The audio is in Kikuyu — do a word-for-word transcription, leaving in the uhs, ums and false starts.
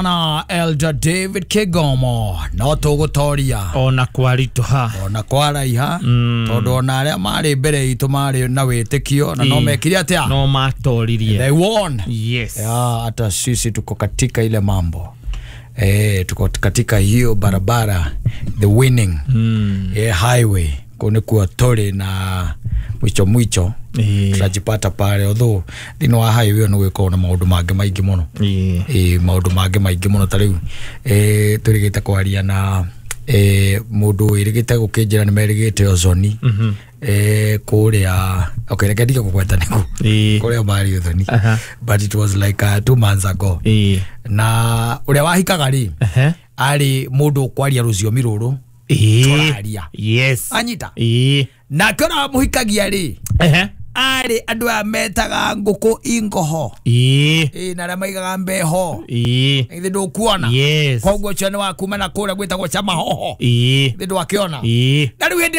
Na Elder David Kigomo no tũgũtoria ona kwaritũha, ona kwaraiha, Mm. tondũ ona arĩa marĩ mbere itũ marĩ na wĩtĩkio na no Ĩ. mekire atĩa? No matoririe. They won. Yes. Ya, hata sisi tuko katika ile mambo, eh, tuko katika hiyo barabara, the winning Mm. eh, highway kũ nĩkuo tũrĩ na mwicho mwicho Ĩ. tunajipata pale, although thĩinĩ wa highway ĩyo nĩ gwĩkorwo na maũndũ mangĩ maingĩ mũno. Ĩ. Ĩ, maũndũ mangĩ maingĩ mũno. Ta rĩu eh, tũrĩgĩte kwaria na eh, mũndũ wĩrĩgĩte gũkĩnjĩra nĩ merĩgĩte ũconi Mhm. eh, kũrĩa, okay, reke ndige kũgweta nĩkũ Ĩ. kũrĩa marĩ ũthoni, Aha. but it was like uh, two months ago, Ĩ. na ũrĩa wahikaga rĩ Ehe. arĩ mũndũ ũkwaria rũciomi rũrũ Ĩ. tũraria. Yes. Anyita. Ĩ. Nake ũrĩa wamũhikagia rĩ Ehe. arĩ andũ aya metaga ngũkũ ingoho. Ĩ. Ĩ, na arĩa maigaga mbeho. Ĩ. Ithe ndũkuona? Yes. Koguo ũcio nĩ wa kuma na kũrĩa gwĩtagwo Chamahoho. Ĩ. Ithe ndwakĩona? Ĩ. Na rĩu hĩndĩ ĩrĩa